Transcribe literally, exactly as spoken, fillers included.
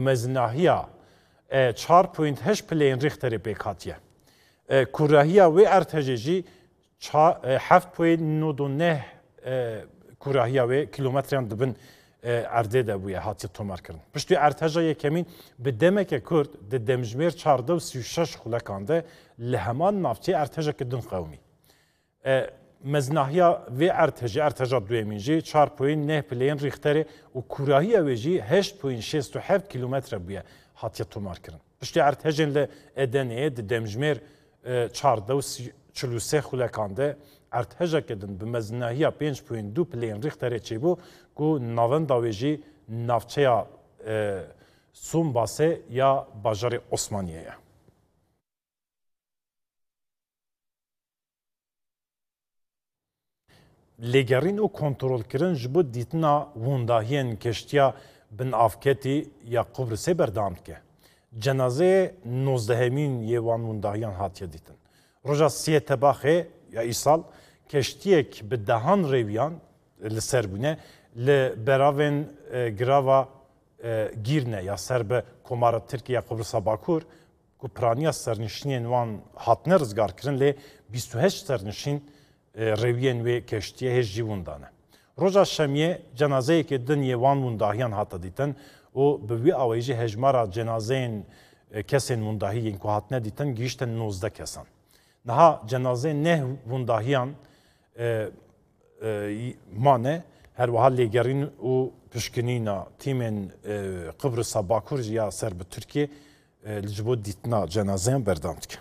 Mezinahiya e, çar point heşt pileyên Richterê pêk hatiye. E, kûrahiya wê erdhejê jî ça- e, heft point nod û neh, e, kûrahiya wê kilometreyan dibin e, erdê de bûye, hatiye tomarkirin. Piştî erdheja yekemîn bi demeke kurt di demjimêr çardeh û sî û şeş xulekan de li heman navçeyê erdhejeke din qewimî. E, mezinahiya vê erdhejê, erdheja duyemîn jî çar point neh pileyên Richterê û kûrahiya wê jî heşt point şêst û heft kilometre bûye, hatiye tomarkirin. Piştî erdhejên li Edeneyê di demjimêr e, çardeh û çil û sê xulekan de erdhejeke din bi mezinahiya pênc point du pileyên Richterê çêbû ku navenda wê jî navçeya e, Sombasê ya bajarê Osmaniyê ye. Lêgerîn û kontrolkirin ji bo dîtina windahiyên keştiya binavketî ya Qubrisê berdewam dike. Cenazeyê nozdehemîn yê wan windahiyan hatiye dîtin. Roja siyê Tebaxê ya îsal keştiyek bi dehan rêwiyan li ser bûne li beravên e, girava e, Gîrne ya ser bi Komara Tirkiye ya Qubrisa Bakur ku piraniya sernişînên wan hatine rizgarkirin lê bîst û heşt sernişîn e, rêwiyên wê keştiyê hêj jî winda ne. Roja şemiyê cenazeyekê din yê wan windahiyan hate dîtin û bi wî awayî jî hejmara cenazeyên e, kesên windahî yên ku hatine dîtin gihîşte nozdeh kesan. Niha cenazeyên neh windahiyan e, e, mane, her wiha lêgerîn û pişkinîna tîmên e, Qibrisa Bakur jî ya ser bi Tirkiyê e, li ji bo dîtina cenazeyan berdewam dike.